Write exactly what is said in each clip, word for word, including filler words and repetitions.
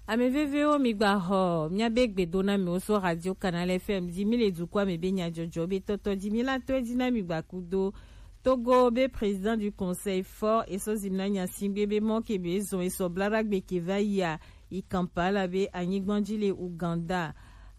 Ame vevewo, mi gba xɔ miabe gbedonamiwo so Radio Canal F M ji. Mi le dukɔa me be nyajɔjɔ be tɔtɔ ji. Mi la tɔe ji na mi gba kudo Togo be président du conseil fort eso zimna nyasingbe be mɔ ke be zɔn eso blaragbe ke va yia yi Kampala be anyigban ji le Uganda.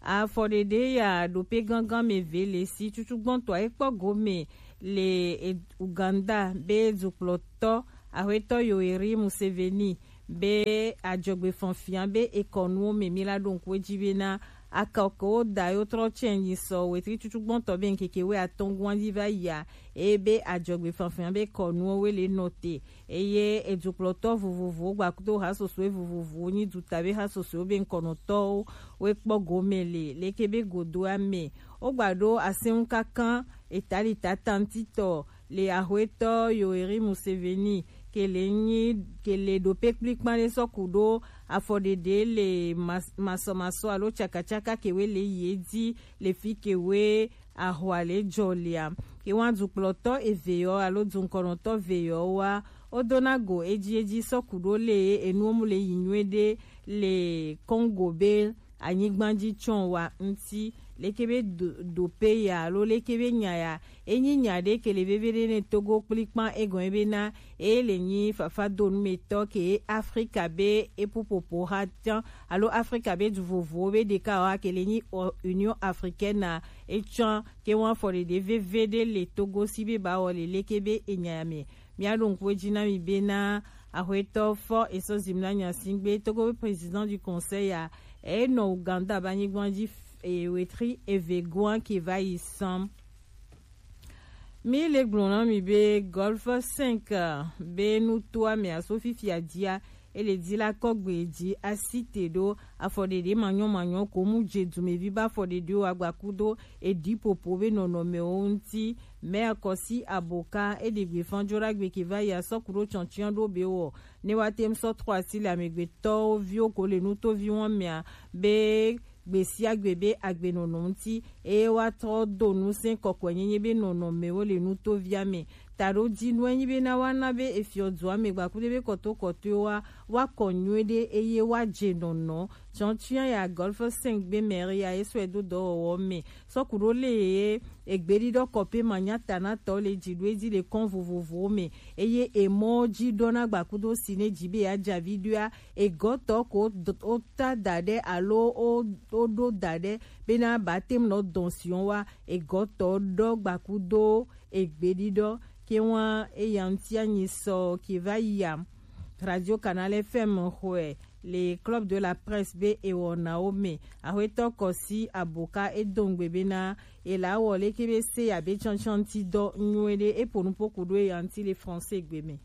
Afɔɖeɖe ya ɖo pe gangan me ve le si cucugbɔntɔ ekpɔ gome le e-, Uganda be dukplɔtɔ Axwetɔ Yoweri Museveni be ajɔgbefanfia be ekɔnuwo me mi la ɖo ŋku edzi be na akɔkewo da yo trɔ tsɛ nyi sɔ wetri cucugbɔntɔ be ŋkeke we atɔngua dzi va yia eye be ajɔgbefanfia be kɔnuwo we le nɔ te eye edukplɔtɔ vovovowo gbakudo hasosoe vovovowo nyi duta be hasosoewo be ŋkɔnɔtɔwo we kpɔ gome le leke be godoa me wogba ɖo asɛnŋu kankan etali tatantitɔ le Axwetɔ Yoweri Museveni ke le nyi ke le ɖo pe kplikpan ɖe sɔ ku ɖo afɔɖeɖe le mas- masɔmasɔ alo tsakatsaka ke we le ye di le fi ke we ahwa le jɔ lea. Ke wa dukplɔtɔ eve yɔ alo dunkɔnɔtɔ eve yɔ wa wo dona go edzi edzi sɔ ku ɖo le enuwo mu le yi nyuie ɖe le Congo be anyigba ji tsɔn wa ŋuti leke be do, do pe ya alo leke be nya ya enyi nya ɖe ke le veve ɖe ne Togo kplikpan egɔn be na e le nyi fafa do nu me tɔ ke Afrika be epupopo ha tian alo Afrika be du vovowo be ɖeka wa ke le nyi o- Union Africaine na etsɔn ke wan fɔ ɖeɖe veve ɖe le Togo si be ba wɔ le leke be enya ya me. Mia ɖo ŋku edzi na mi be na axwetɔ fɔ eso zim na nyasingbe Togo be président du conseil ya e nɔ Uganda ba nyigban ji f- e wetri eve goan ke va yi sɔn. Mi le gblɔ na mi be Golf cinq be nutoa me aso fifia dia e le di la kɔgbe ji asi te ɖo afɔɖeɖe manyɔ manyɔ ko mu je dumevi ba afɔɖeɖewo agbakudo edi popo be nɔnɔmewo ŋuti. Mɛ akɔsi aboka e ɖe gbe fan jo ɖagbe ke va yi asɔ ku ɖo tsɔntsian ɖo be wɔ ne wa tem sɔ trɔ asi le amegbetɔwo viwo ko le nutovi wɔn mea be gbe sia gbe be agbenɔnɔ ŋuti eye woatrɔ do ŋusẽ kɔkɔenyenye be nɔnɔmewo le nutovia me. Taɖodinu enyi be na woana be efiɔdua me gbakuɖe be kɔtokɔtoewoa woakɔ nyuie ɖe eye woadze nɔnɔ. Tsɔntsia ya Golf cinq gbe mɛri ya ye sɔe do dɔwɔwɔ me sɔku ɖo le ye egbeɖiɖɔ kɔpe manyatanatɔ le dzi ɖo edzi le kɔn vovovowo me eye emɔ dzi ɖɔna gbakudo si ne dzi be yeadze avi ɖoa egɔtɔ ko d- wota da ɖe alo wo- woɖo da ɖe bena batem nɔ dɔn siɔn wa egɔtɔ ɖɔ gbakudo egbeɖiɖɔ ke wa eya ŋuti anyi sɔ ke va yia. Radio Canal F M xɔe le Club de la Presse be ewɔnawo me. Axwetɔ Kɔsi Aboka edo ŋgbe bena ela wɔ leke be se ya be tsɔntsɔnti dɔ nyuie ɖe epo nupo ku ɖo eya ŋuti le français gbe me.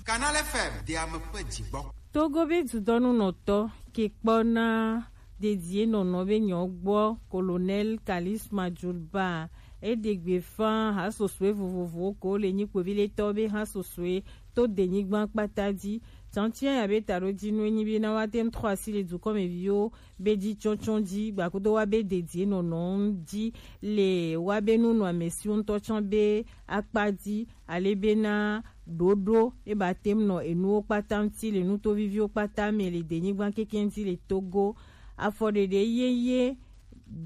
Canal F M de ame ƒe dzigbɔ. Togo be dudɔnunɔtɔ ke kpɔna dedie nɔnɔ be nyɔ gbɔ Colonel Kalis Majulba eɖe gbe fa hasosoe vovovowo ko le nyi kpoviletɔ be hasosoe to denyigba kpata dzi. Tsantsia ya be taɖodinu enyi be na woate ŋu trɔ asi le dukɔmeviwo be dzi tsɔtsɔ dzi gbakudo wa be dedie nɔnɔ dzi le wa be nunɔamesiwo ŋutɔ tsɔ be akpa dzi ale bena ɖoɖo e ba tem nɔ enuwo kpata ŋuti le nutoviviwo kpata me le denyigba keke ŋuti le Togo. Afɔɖeɖe yeye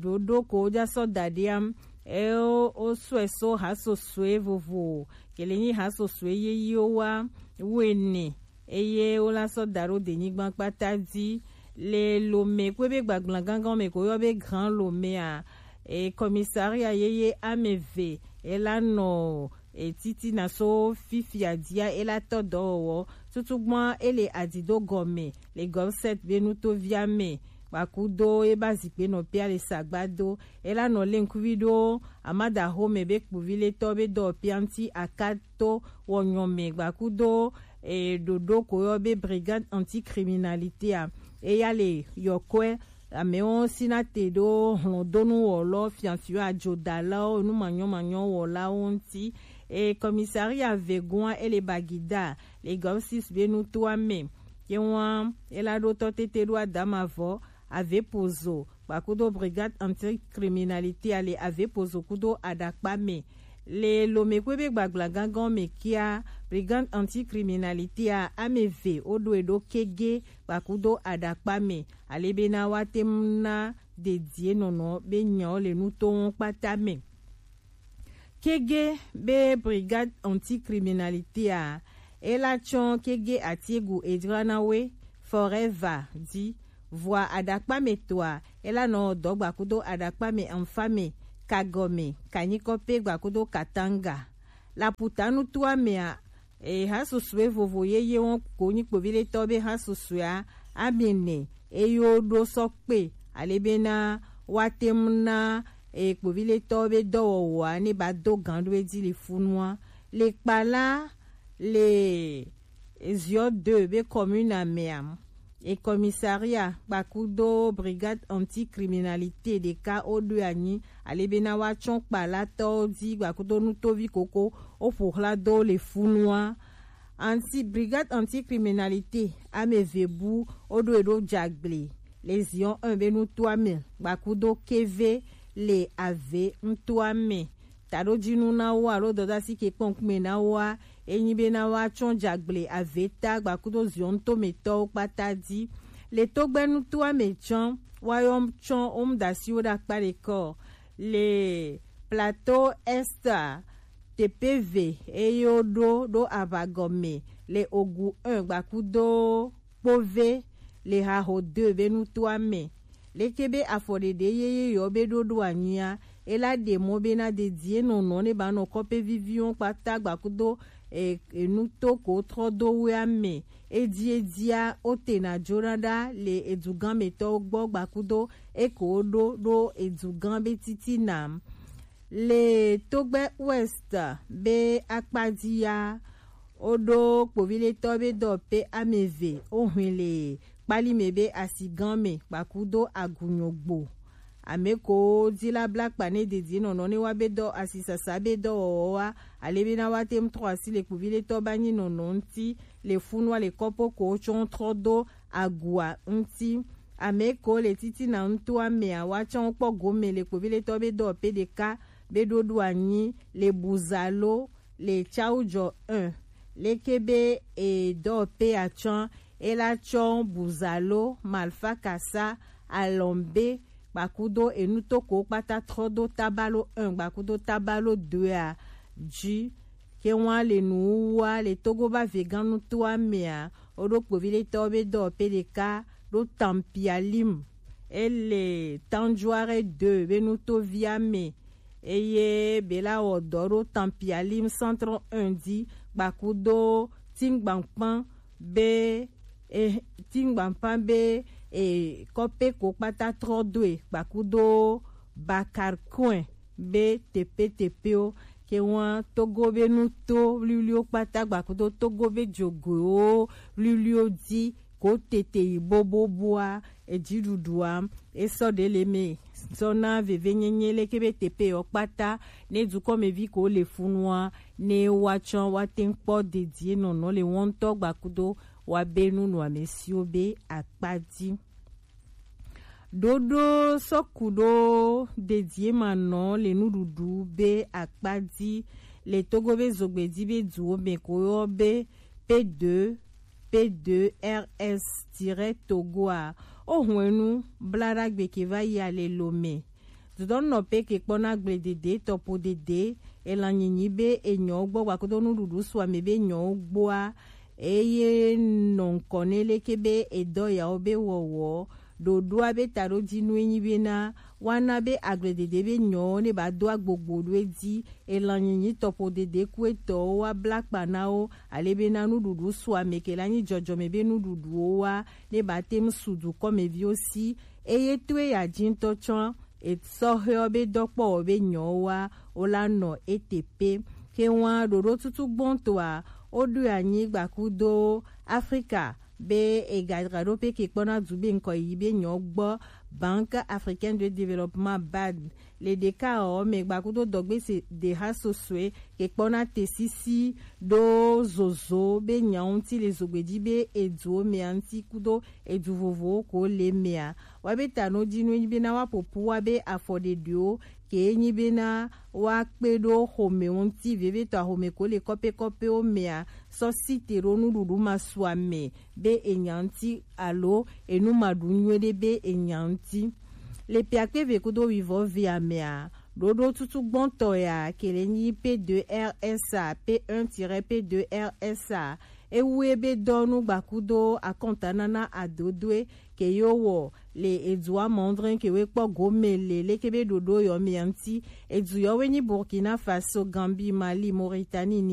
ɖoɖo ko woja sɔ da ɖi am eye wo sɔe so hasosoe vovo ke le nyi hasosoe yeyewo wa wuiene eye wola sɔ da ɖo denyigba kpata dzi le Lome kpe be gbagbla gangan me ko yɔ be Grand Lome a e commissariat yeye ame eve ela nɔ e titina so fifia dia ela tɔ dɔwɔwɔ tutugbɔn ele adido gɔme le Gɔlset be nutovia me gbakudo eba zikpe nɔ pia le sagbado ela nɔ le ŋkuvi ɖo amada xome be kpovi le tɔ be dɔwɔpia ŋuti aka to wɔnyɔme gbakudo e ɖoɖo ko yɔ be brigade anticriminalité a eya le yɔkɔe amewo sina te ɖo hlɔdonu wɔlɔ fiafio adzodalawo numanyɔmanyɔ wɔlawo ŋuti e commissariat vegoa ele bagida le gɔsis be nutoa me ye wa ela ɖo tɔ tete ɖo adama vɔ ave pozo gbakudo brigade anticriminalité a le ave pozo kudo aɖakpa me Le Lomé kpé bé gbagbla gángan mɛ kíá, Brigade Anti-Criminalité a, amɛ vé o ɖo e ɖo kégé gbakudo aɖakpa mɛ, alebena wa tɛm na dedie nɔnɔ bé nyɔ le nu to wɔn kpata mɛ. Kégé bé Brigade Anti-Criminalité a, e la tsɔn kégé atigu e jra na wé Forever di. Vɔa aɖakpa mɛ toa, e la nɔ dɔ gbakudo aɖakpa mɛ anfa mɛ, kagɔ mɛ, kanyikɔ pé gbakudo katanga. Laputanu toa mɛ a, e ha susue vovo yeye wɔn ko nyi kpoviɖetɔ bé ha susue a, amɛ nɛ e yo ɖo sɔ kpé, alebena wa tɛm na e kpoviɖetɔ bé dɔwɔwɔ a ne ba do gan ɖo e ji le funua. Le kpala le Ziɔ deux bé commune a mɛ a, e commissariat gbakudo Brigade Anti-Criminalité ɖeka o ɖo anyi, alebena wa tsɔn kpalatɔ di gbakudo nutovi koko o ƒoxla do le funua. Anti Brigade Anti-Criminalité amɛ vé bu o ɖo e ɖo jagble le Ziɔ un bé nutoa mɛ gbakudo kévé le avé nutoa mɛ. Taɖojinu na wo alo dɔdasi ke kpɔn kume na wo a, e nyi bé na wa tsɔn jagble avé ta gbakudo Ziɔ un to mɛ tɔwo kpata di. Le togbɛ nutoa mɛ tsɔn wa yɔ tsɔn o mu dasi wo ɖakpa ɖe kɔ. Le Plateau Est a, T P V e yo ɖo ɖo aʋagɔ mɛ le Ogu un gbakudo kpóvé le Haho deux bé nutoa mɛ. Leke bé afɔɖeɖe yeye yɔ bé ɖo ɖo anyia, e la ɖe mɔ bé na dedie nɔnɔ ne ba nɔ kɔpé vivi wɔn kpata gbakudo e, e nu to ko trɔ do wéa mɛ. Edi edia o te na jona ɖa le edugán mɛ tɔwo gbɔ gbakudo e ko ɖo ɖo edugán bé titina. Le togbɛ Ouest bé akpa di ya, o ɖo kpoviɖetɔ bé dɔ pé amɛ vé o hwin le kpali mɛ bé asigán mɛ gbakudo agunyɔgbo. Amɛ ko di la bla kpa ne dedie nɔnɔ ne wa bé dɔ asisasa bé dɔwɔwɔ wa, alebena wa tɛm trɔ asi le kpoviɖetɔ ba nyi nɔnɔ ŋti le funua le kɔpo ko tsɔn trɔ do agua ŋti. Amɛ ko le titina nutoa mɛ a, wa tsɔn kpɔ gomɛ le kpoviɖetɔ bé dɔ pé ɖeka bé ɖo ɖo anyi le Buzalo le Tsaujɔ un. Leke bé e dɔ pé a tsɔn, e la tsɔn Buzalo, Malfakasa, Alɔmbe gbakudo e nu to ko kpata trɔ do Tabalo un gbakudo Tabalo deux a ji. Ke wɔn le nu wa le Togo ba vegán nutoa mɛ a, o ɖo kpoviɖetɔ bé dɔ pé ɖeka ɖo Tampialim. E le Tanjuare deux bé nutovia mɛ. Eye bé la wɔ dɔ ɖo Tampialim Centre un di gbakudo Tingbankpan bé e Tingbankpan bé e kɔpé ko kpata trɔ do e gbakudo Bakarkoin bé tepe tepe o. Ke wɔn Togo bé nu to wliwli o kpata gbakudo Togo bé jogo o wliwli o di ko tete yi boboboa, edziɖuɖua e sɔ ɖe le mɛ sɔ na veve nyenye leke bé tepe yɔ kpata ne dukɔmɛvi ko le funua ne wa tsɔn wa tɛn kpɔ dedie nɔnɔ le wɔn ŋtɔ gbakudo wa bé nu nɔ amɛsiwo bé akpa di. Ɖoɖo sɔku ɖo dedie ma nɔ le nuɖuɖu bé akpa di le Togo bé zogbe di bé duwo mɛ ko yɔ bé P deux, P deux R S tiret Togo a. O hwenu bla ɖagbe ke va yi a le Lomé. Dudɔnɔ pɛ ke kpɔ na gble dede tɔpo dede, elan nyinyi be enyɔ gbɔ gbakodo nuɖuɖu sɔ amɛ be nyɔ gboa, eye nɔ ŋkɔ ne leke be edɔ yawo be wɔwɔ, ɖoɖoa be taɖodinu enyi bena, woana be agble dede be nyɔwo ne ba do agbogbo ɖo edzi, elan nyinyi tɔpo dede ku etɔwo wa bla kpa na wo, ale bena nuɖuɖu sɔ amɛ ke la nyi jɔjɔmɛ be nuɖuɖuwo wa, ne ba te ŋu su dukɔmeviwo si, eye to eya ji ŋutɔ tsɔ esɔhɛwo be dɔkpɔwɔ be nyɔwo wa, wo la nɔ ete pe. Ke ŋua ɖoɖo tutu gbɔntɔa, wo ɖo anyi gbakudo Afrika be ega dzra ɖo pe ke kpɔna du be ŋkɔ yi be nyɔ gbɔ Banque Africaine de Développement, bad. Le ɖeka ɔ mɛ gba kudo dɔgbe se de ha sosue ke kpɔna te sisi ɖo zozo be nya ŋuti le zogbeji be edu mɛa ŋuti kudo edu vovowo ko le mɛa. Wa be ta no di nu enyi be na wa popo wa be afɔ ɖeɖewo ke enyi be na wa kpe ɖo xome ŋuti vevitɔ axome ko le kɔpe kɔpewo mɛa sɔ si te ɖo nuɖuɖu ma su ame be enya ŋuti alo enu ma ɖu nyuie ɖe be enya ŋuti. Le piakpe ve kudo wivɔ ve amea, ɖoɖo tutu gbɔntɔ ya ke le nyi P deux R S A, P un tiret P deux R S A. Ewu ebe dɔnu gbakudo akɔntanana adodoe ke yo wɔ le edua mɔndrɛn ke we kpɔ gome le leke be ɖoɖo yɔ mia ŋuti. Edu yɔ we nyi Burkina Faso, Gambie, Mali, Mauritanie,